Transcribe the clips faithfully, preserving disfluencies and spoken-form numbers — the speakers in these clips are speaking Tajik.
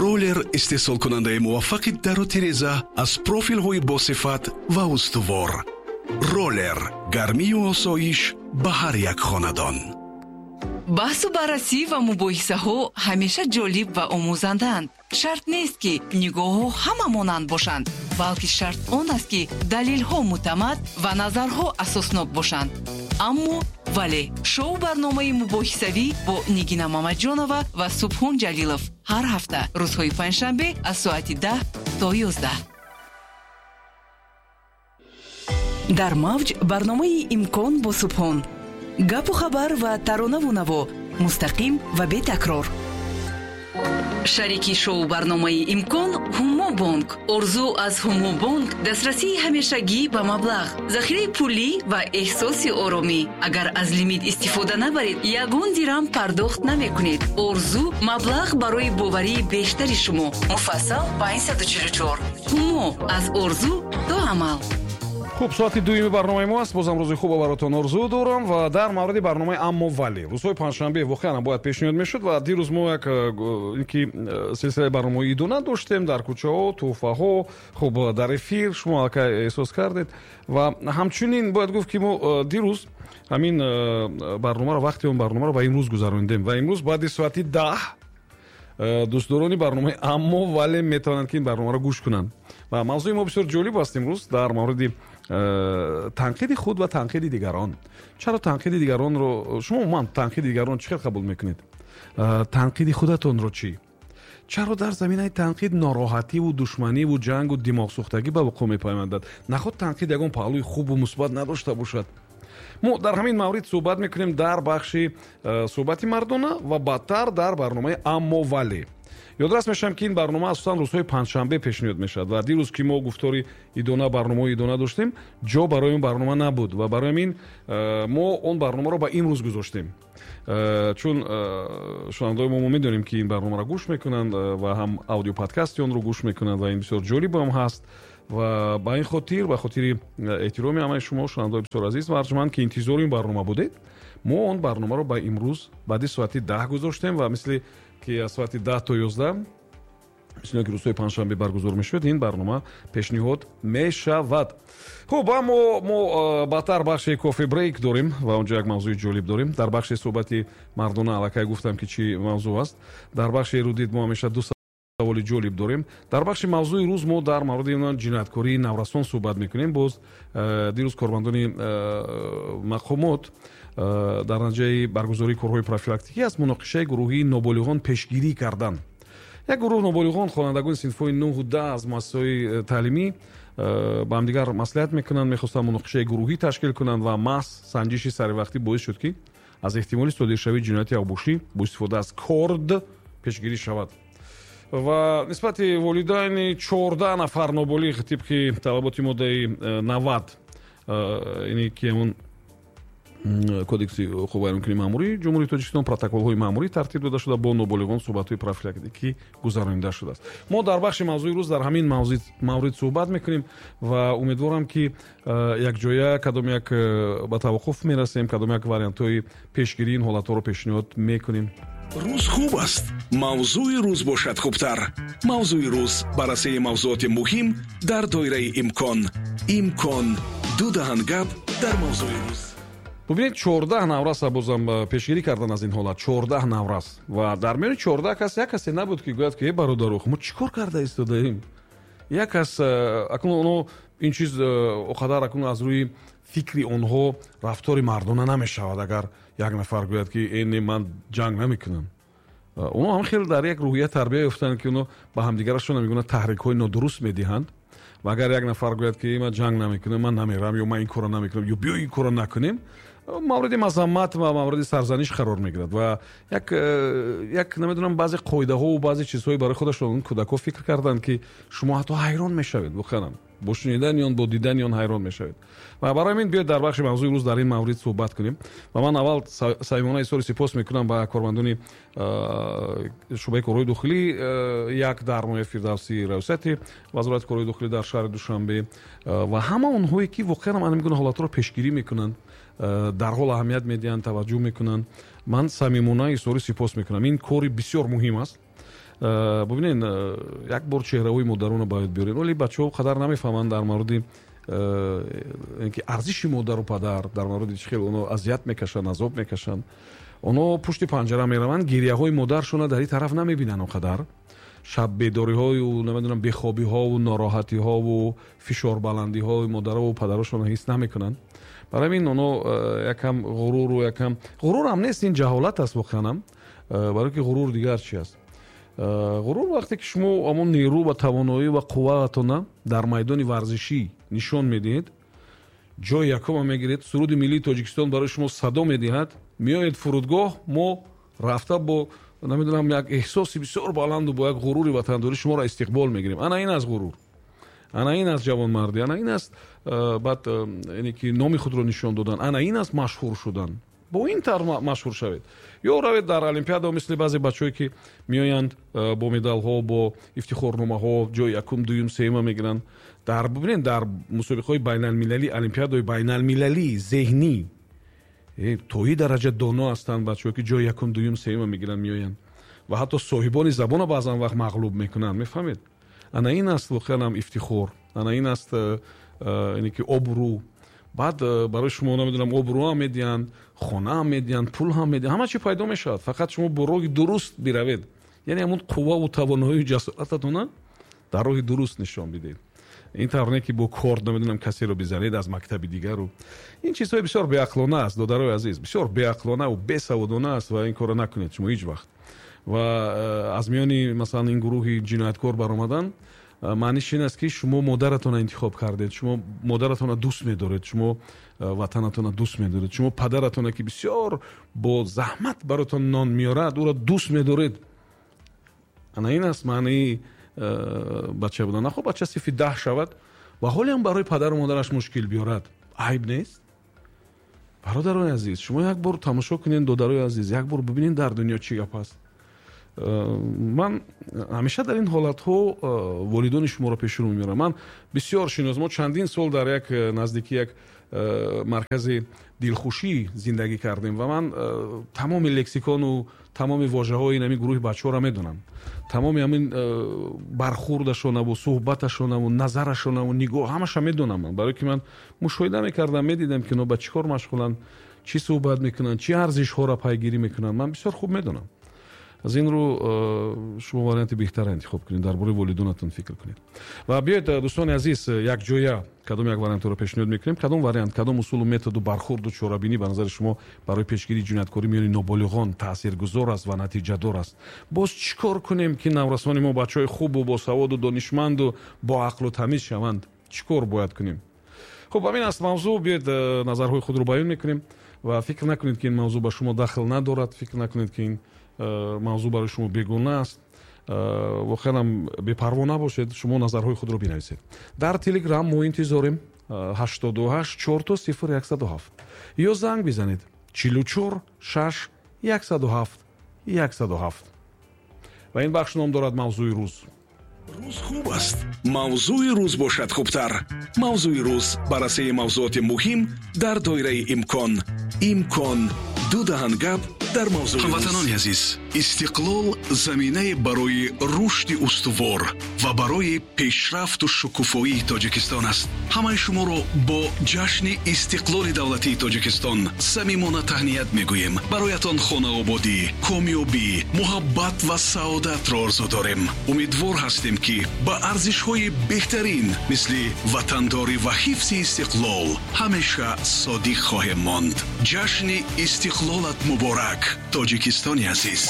Роллер истеҳсолкунандаи муваффақи дару тиреза аз профилҳои босифат ва устувор. Роллер гармию осоиш ба ҳар як хонадон. Баҳсу баррасӣ ва мубоҳисаҳо ҳамеша ҷолиб ва омӯзандаанд. Шарт нест, ки нигоҳҳо ҳама монанд бошанд, балки шарт он аст, ки далелҳо мӯътамад ва назарҳо асоснок бошанд. Аммо вале шоу барномаи мубоҳисавӣ бо Нигина Мамаҷонова ва Субҳон Ҷалилов ҳар ҳафта рӯзҳои панҷшанбе аз соати даҳ то ёздаҳ. Дар мавҷ барномаи «Имкон» бо Субҳон. Гапу хабар ва таронаву наво мустақим ва бетакрор. Шарики шоу барномаи «Имкон» Ҳумо бонк. Орзу аз Ҳумо бонк дастрасии ҳамешагӣ ба маблағ, захираи пулӣ ва эҳсоси оромӣ. Агар аз лимит истифода набаред, ягон дирам пардохт намекунед. Орзу маблағ барои боварии бештари шумо. Муфассал панҷсаду чилу чор. Ҳумо аз орзу то амал. Хуб, соати дуюми барномаи мо аст. Бозам рӯзи хуб баротон орзу дорам ва дар мавриди барномаи «Аммо вале» рӯзҳои панҷшанбе воқеан бояд пешниҳод мешуд ва дирӯз мо як ки силсилаи барномаҳои идона доштем дар кӯчаҳо, тӯҳфаҳо, хуб, дар эфир шумо аллакай эҳсос кардед ва ҳамчунин бояд гуфт, ки мо дирӯз ҳамин барномаро, вақти он барномаро ба имрӯз гузарондем ва имрӯз баъди соати даҳ дӯстдорони барномаи «Аммо вале» метавонанд, ки ин барномаро гӯш кунанд. Ва мавзӯи мо бисёр ҷолиб аст имрӯз дар мавриди танқиди худ ва танқиди дигарон. Чаро танқиди дигаронро шумо умуман танқиди дигарон чӣ хел қабул мекунед? Танқиди худатонро чӣ? Чаро дар заминаи танқид нороҳативу душманиву ҷангу димоғсӯхтагӣ ба вуқӯъ мепаймандад? Наход танқид ягон паҳлӯи хубу мусбат надошта бошад? Мо дар ҳамин маврид суҳбат мекунем дар бахши суҳбати мардона ва баъдтар дар барномаи «Аммо вале». Ёдрас мешавам, ки ин барнома асосан рӯзҳои панҷшанбе пешниҳод мешавад ва дирӯз, ки мо гуфтори идона, барномаҳои идона доштем, ҷо барои он барнома набуд ва барои ҳамин мо он барномаро ба имрӯз гузоштем, чун шунавандаҳои мо мо медонем, ки ин барномаро гӯш мекунанд ва ҳам аудиоподкасти онро гӯш мекунанд ва ин бисёр ҷолиб ҳам ҳаст. Ва ба ин хотир, ба хотири эҳтироми ҳамаи шумо, шунавандаҳои бисёр азиз ва арҷманд, ки интизори ин барнома будед, мо он барномаро ба имрӯз баъди соати даҳ гузоштем ва мисли ки аз соати даҳ то ёздаҳ, мисли ки рӯзҳои панҷшанбе баргузор мешавад, ин барнома пешниҳод мешавад. Хуб, аммо мо баъдтар бахши кофе брейк дорем ва онҷо як мавзӯи ҷолиб дорем. Дар бахши суҳбати мардона аллакай гуфтам, ки чӣ мавзӯъ аст. Дар бахши эрудит мо ҳамеша ду саволи ҷолиб дорем. Дар бахши мавзӯи рӯз мо дар мавриди ҷинояткории наврасон суҳбат мекунем. Боз дирӯз кормандони мақомот дар натиҷаи баргузории корҳои профилактикӣ аз муноқишаи гурӯҳии ноболиғон пешгирӣ карданд. Як гурӯҳ ноболиғон, хонандагони синфҳои нӯҳу даҳ аз муассисаҳои таълимӣ, ба ҳамдигар маслиҳат мекунанд, мехостанд муноқишаи гурӯҳӣ ташкил кунанд ва маҳз санҷиши саривақтӣ боис шуд, ки аз эҳтимоли содиршавии ҷинояти авбошӣ бо истифода аз корд пешгирӣ шавад. Ва нисбати волидайни чордаҳ нафар ноболиғ тибқи талаботи моддаи навад, ине ки ҳамон Кодекси ҳуқуқвайронкунии маъмурии Ҷумҳурии Тоҷикистон, протоколҳои маъмурӣ тартиб дода шуда, бо ноболиғон суҳбатҳои профилактикӣ гузаронида шудааст. Мо дар бахши мавзӯи рӯз дар ҳамин маврид суҳбат мекунем ва умедворам, ки якҷоя кадом як ба таваққуф мерасем, кадом як вариантҳои пешгирии ин ҳолатҳоро пешниҳод мекунем. Рӯз хуб аст, мавзӯи рӯз бошад хубтар. Мавзӯи рӯз баррасии мавзӯоти муҳим дар доираи имкон. Имкон ду даҳан гап дар мавзӯи рӯз. Бубинед, чордаҳ навраса бозам пешгирӣ кардан аз ин ҳолат, чордаҳ наврас. Ва дар миёни чордаҳ кас як касе набуд, ки гӯяд, ки э бародаро, мо чӣ кор карда истодаем? Як кас, акнун оно ин чиз оқадар акнун аз рӯи фикри онҳо рафтори мардона намешавад, агар як нафар гӯяд, ки э не, ман ҷанг намекунам. Онҳо ҳам хеле дар як рӯҳия тарбия ёфтанд, ки онҳо ба ҳамдигарашон мегӯянд таҳрикҳои нодуруст медиҳанд. Ва агар як нафар гӯяд, ки ман ҷанг намекунам, ман намерам, ё ман ин корро намекунам, ё биё ин корро накунем, мавриди мазаммат ва мавриди сарзаниш қарор мегирад. Ва як як намедонам, баъзе қоидаҳо ва баъзе чизҳои барои худашон кӯдакҳо фикр карданд, ки шумо ҳатто ҳайрон мешавед, воқеан бо шунидани он, бо дидани он ҳайрон мешавед. Ва барои ҳамин биёед дар бахши мавзӯи рӯз дар ин маврид суҳбат кунем. Ва ман аввал самимона изҳори сипос мекунам ба кормандони шӯъбаи корҳои дохилӣ як дар ноҳияи Фирдавсӣ, раёсати Вазорати корҳои дохилӣ дар шаҳри Душанбе ва ҳама онҳое, ки воқеан ҳамин гуна ҳолатҳоро пешгирӣ мекунанд, дар ҳол аҳамият медиҳанд, таваҷҷӯҳ мекунанд. Ман самимона изҳори сипос мекунам. Ин кори бисёр муҳим аст. Бубинед, як бор чеҳраҳои модаронро бояд биёред. Вале бачаҳо қадар намефаҳманд дар мавриди ки арзиши модару падар, дар мавриди чӣ хел онҳо азият мекашанд, азоб мекашанд. Онҳо пушти панҷара мераванд, гирияҳои модаршона дар ин тараф намебинанд он қадар. Шаб бедориҳою намедонам бехобиҳову нороҳатиҳову фишорбаландиҳои модарову падарошонро ҳис намекунанд. Барои ҳамин онҳо якам ғуруру якам ғурурам нест, ин ҷаҳолат аст воқеанам. Барои ки ғурур дигар чи аст? Ғурур вақте ки шумо ҳамон нерӯ ва тавоноӣ ва қувваатона дар майдони варзишӣ нишон медиҳед, ҷои якума мегиред, суруди миллии Тоҷикистон барои шумо садо медиҳад, меоед фурудгоҳ, мо рафта бо намедонам як эҳсоси бисёр баланду бо як ғурури ватандорӣ шуморо истиқбол мегирем. Ана ин аст ғурур, ана ин аст ҷавонмардӣ, ана ин аст баъд яъне ки номи худро нишон додан, ана ин аст машҳур шудан. Бо ин тавр машҳур шавед. Ё равед дар олимпиада мисли баъзе бачаҳое ки меоянд бо медалҳо, бо ифтихорномаҳо, ҷои якум, дуюм, сеюма мегиранд. Дар бубинед, дар мусобиқаҳои байналмилалӣ, олимпиадаҳои байналмилалӣ зеҳнӣ то ин дараҷа доно ҳастанд бачаҳо ки ҷои якум, дуюм, сеюма мегиранд, меоянд ва ҳатто соҳибони забонро баъзан вақт мағлуб мекунанд. Мефаҳмед? Ана ин аст воқеан ҳам ифтихор, ана ин аст яъне ки обрӯ. Баъд барои шумо намедонам обрӯ ҳам медиҳанд, хона ҳам медиҳанд, пул ҳам медиҳанд, ҳама чи пайдо мешавад. Фақат шумо бо роҳи дуруст биравед, яъне ҳамон қувваву тавоноию ҷасорататона дар роҳи дуруст нишон бидиҳед. Ин тавр не ки бо корд намедонам касеро бизанед аз мактаби дигару. Ин чизҳои бисёр беақлона аст, додарои азиз, бисёр беақлонаву бесаводона аст ва ин корро накунед шумо ҳеҷ вақт. Ва аз миёни масалан ин гурӯҳи ҷинояткор баромадан маъниш ин аст ки шумо модаратонро интихоб кардед, шумо модаратонро дӯст медоред, шумо ватанатонро дӯст медоред, шумо падаратонро ки бисёр бо заҳмат баротон нон меорад, ӯро дӯст медоред. Ана ин аст маънии бача будан. Нахо бача сифи даҳ шавад ва ҳоле ҳам барои падару модараш мушкил биёрад, айб нест? Бародарои азиз, шумо як бор тамошо кунед, додарои азиз, як бор бибинед дар дунё чӣ гап аст. Ман ҳамеша дар ин ҳолатҳо волидони шуморо пешрӯ меорам. Ман бисёр шинос, мо чандин сол дар як наздики як маркази дилхушӣ зиндагӣ кардем ва ман тамоми лексикону тамоми вожаҳои ин ҳамин гурӯҳи бачаҳоро медонам, тамоми ҳамин бархурдашонаву суҳбаташонаву назарашонаву нигоҳ ҳамаша медонам ман, барои ки ман мушоҳида мекардам, медидам ки онҳо ба чӣ кор машғуланд, чӣ суҳбат мекунанд, чӣ арзишҳоро пайгирӣ мекунанд. Ман бисёр хуб медонам. Аз ин рӯ шумо варианти беҳтарро интихоб кунед, дар бораи волидонатон фикр кунед. Ва биёед дӯстони азиз, якҷоя кадом як вариантро пешниҳод мекунем, кадом вариант, кадом усулу методу бархурду чорабинӣ ба назари шумо барои пешгирии ҷинояткорӣ миёни ноболиғон таъсиргузор аст ва натиҷадор аст. Боз чӣ кор кунем ки наврасони мо бачаҳои хубу босаводу донишманду боақлу тамиз шаванд? Чӣ кор бояд кунем? Хуб, ҳамин аст мавзӯъ. Биёед назарҳои худро баён мекунем ва фикр накунед ки ин мавзӯъ ба шумо дахл надорад, фикр накунед ки ин мавзӯъ барои шумо бегона аст. Воқеан ҳам бепарво набошед, шумо назарҳои худро бинависед. Дар Телеграм мо интизорем ҳаштоду ҳашт чор сифр яксаду ҳафт ё занг бизанед чилу чор шаш яксаду ҳафт яксаду ҳафт. Ва ин бахш ном дорад мавзӯи рӯз. Рӯз хуб аст, мавзӯи рӯз бошад хубтар. Мавзӯи рӯз баррасии мавзӯоти муҳим дар доираи имкон. Имкон ду даҳан гап дар мавзӯи рӯз. Ҳамватанони азиз, истиқлол заминае барои рушди устувор ва барои пешрафту шукуфоии Тоҷикистон аст. Ҳамаи шуморо бо ҷашни истиқлоли давлатии Тоҷикистон самимона таҳният мегӯем. Бароятон хонаободӣ, комёбӣ, муҳаббат ва саодатро орзу дорем. Умедвор ҳастем ки ба арзишҳои беҳтарин мисли ватандорӣ ва ҳифзи истиқлол ҳамеша содиқ хоҳем монд. Ҷашни истиқлолат муборак, Тоҷикистони азиз.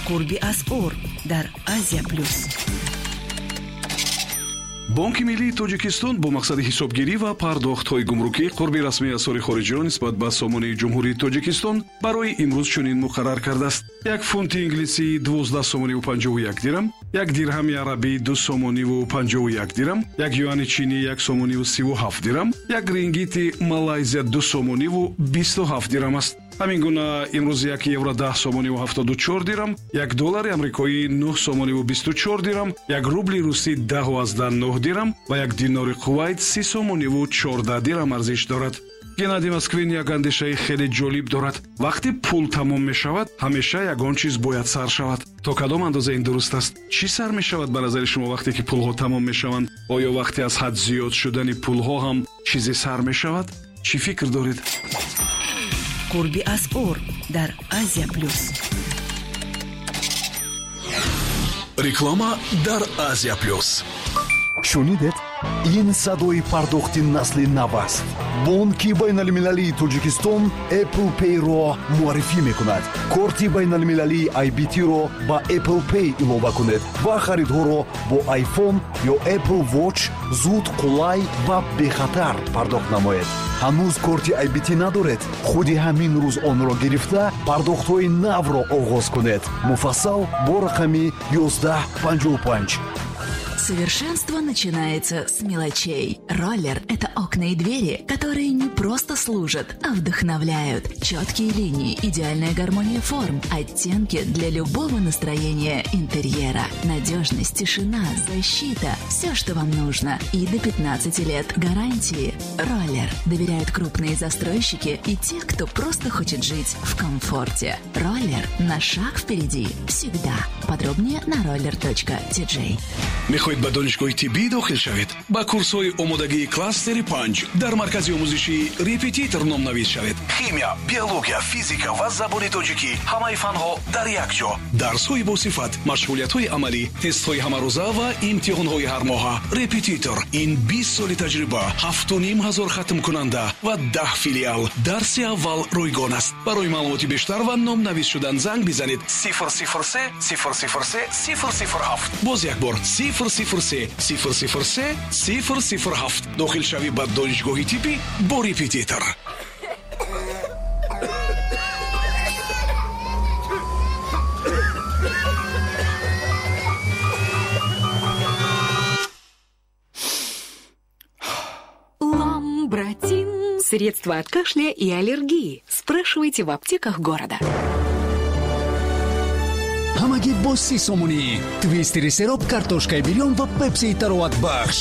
Қурби асъор дар Азия Плюс. Бонки миллии Тоҷикистон бо мақсади ҳисобгирӣ ва пардохтҳои гумрукӣ қурби расмии асъори хориҷиро нисбат ба сомонаи Ҷумҳурии Тоҷикистон барои имрӯз чунин муқаррар кардааст. Як фунти инглисӣ дувоздаҳ сомониву панҷоҳу як дирам, як дирҳами арабӣ ду сомониву панҷоҳу як дирам, як юани чинӣ як сомониву сиву ҳафт дирам, як рингити Малайзия ду сомониву бисту ҳафт дирам аст. Ҳамин гуна имрӯз як евро даҳ сомониву ҳафтоду чор дирам, як доллари амрикоӣ нӯҳ сомониву бисту чор дирам, як рубли русӣ даҳу аздаҳ нӯҳ дирам ва як динори Кувайт си сомониву чордаҳ дирам арзиш дорад. Геннадий Москвин як андешаи хеле ҷолиб дорад. Вақте пул тамом мешавад, ҳамеша ягон чиз бояд сар шавад. То кадом андоза ин дуруст аст? Чӣ сар мешавад ба назари шумо вақте ки пулҳо тамом мешаванд? Оё вақте аз ҳад зиёд шудани пулҳо ҳам чизе сар мешавад? Чӣ фикр доред? Қурби асъор дар Азия Плюс. Реклама дар Азия Плюс. Шунидед? Ин садои пардохти насли нав аст. Бонки байналмилалии Тоҷикистон Apple Pay-ро муаррифӣ мекунад. Корти байналмилалии ай би ти-ро ба Apple Pay илова кунед ва харидҳоро бо iPhone ё Apple Watch зуд, қулай ва бехатар пардохт намоед. Ҳанӯз корти ай би ти надоред? Худи ҳамин рӯз онро гирифта пардохтҳои навро оғоз кунед. Муфассал бо рақами ёздаҳ панҷоҳу панҷ. Совершенство начинается с мелочей. Роллер – это окна и двери, которые не просто служат, а вдохновляют. Четкие линии, идеальная гармония форм, оттенки для любого настроения интерьера. Надежность, тишина, защита – все, что вам нужно. И до пятнадцати лет гарантии. Роллер доверяют крупные застройщики и те, кто просто хочет жить в комфорте. Роллер на шаг впереди всегда. Подробнее на роллер точка ти джей. Мехоҳед ба донишгоҳи тиббӣ дохил шавед? Ба курсҳои омодагии кластери панҷ дар маркази омӯзишии репетитор номнавис шавед. Химия, биология, физика ва забони тоҷикӣ, ҳамаи фанҳо дар як ҷо. Дарсҳои босифат, машғулиятҳои амалӣ, тестҳои ҳамарӯза ва имтиҳонҳои ҳармоҳа. Репетитор ин бист соли таҷриба, ҳафту ним ҳазор хатмкунанда ва даҳ филиал. Дарси аввал ройгон аст. Барои маълумоти бештар ва номнавис шудан занг бизанед сифр сифр се сифр сифр се сифр сифр ҳафт. Боз як бор сифр сифр се сифр сифр се сифр сифр ҳафт. Дохил шавӣ ба донишгоҳи тиббӣ бо репетитор. Ламбратин. Средства от кашля и аллергии. Спрашивайте в аптеках города. Ҳамагӣ бо си сомонӣ твистери сероб, картошкаи бирён ва пепсии тароватбахш.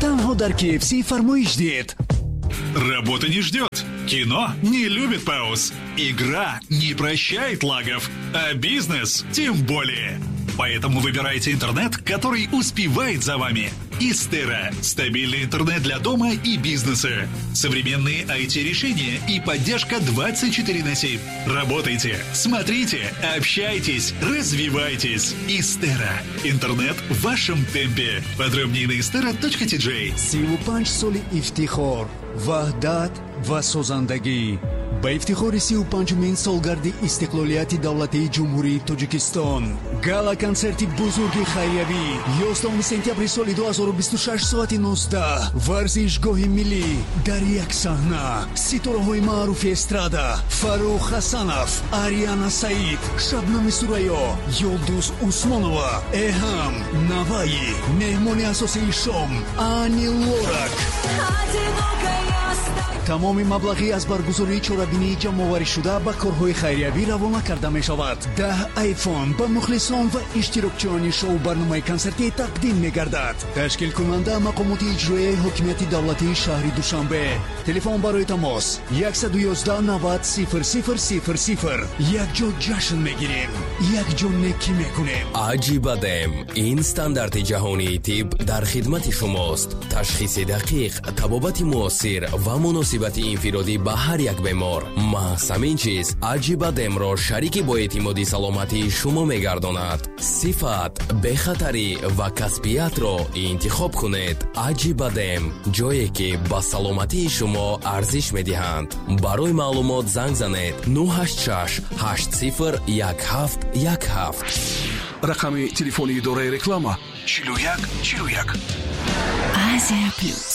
Танҳо дар кей эф си фармоиш диҳед. Работа не ждет. Кино не любит пауз. Игра не прощает лагов. А бизнес тем более. Поэтому выбирайте интернет, который успевает за вами. Истера. Стабильный интернет для дома и бизнеса. Современные ай ти-решения и поддержка двадцать четыре на семь. Работайте, смотрите, общайтесь, развивайтесь. Истера. Интернет в вашем темпе. Подробнее на истера точка ти джей. Сиву панҷ соли ифтихор, ваҳдат ва созандагӣ. Ба ифтихори сию панҷумин солгарди истиқлолияти давлатии Ҷумҳурии Тоҷикистон гала-консерти бузурги хайриявӣ ёздаҳуми сентябри соли ду ҳазору бисту шаш соати нуздаҳ, варзишгоҳи миллӣ дар як саҳна ситораҳои маъруфи эстрада Фаррух Ҳасанов, Ариана Саид, Шабнами Сурайё, Юлдуз Усмонова, Эҳам Наваи, меҳмони асосии шом Ани Лорак. Тамоми маблағӣ аз баргузории чорабинии ҷамъоварӣшуда ба корҳои хайриявӣ равона карда мешавад. Даҳ айфон ба мухлисон ва иштирокчиёни шоу-барномаи консертӣ тақдим мегардад. Ташкилкунанда мақомоти иҷроияи ҳокимияти давлатии шаҳри Душанбе. Телефон барои тамос яксаду ёздаҳ навад сифр сифр сифр сифр. Якҷо ҷашн мегирем, якҷо некӣ мекунем. Аҷибадем ин стандарти ҷаҳонии тиб дар хидмати шумост. Ташхиси дақиқ, табобати муосир ва муносиб муносибати инфиродӣ ба ҳар як бемор. Маҳз ҳамин чиз Аҷибадемро шарики боэътимоди саломатии шумо мегардонад. Сифат, бехатарӣ ва касбиятро интихоб кунед. Аҷибадем, ҷое ки ба саломатии шумо арзиш медиҳанд. Барои маълумот занг занед нӯҳ ҳашт шаш ҳашт сифр як ҳафт як ҳафт. Рақами телефони идораи реклама чилу як чилу як. Азия Плюс.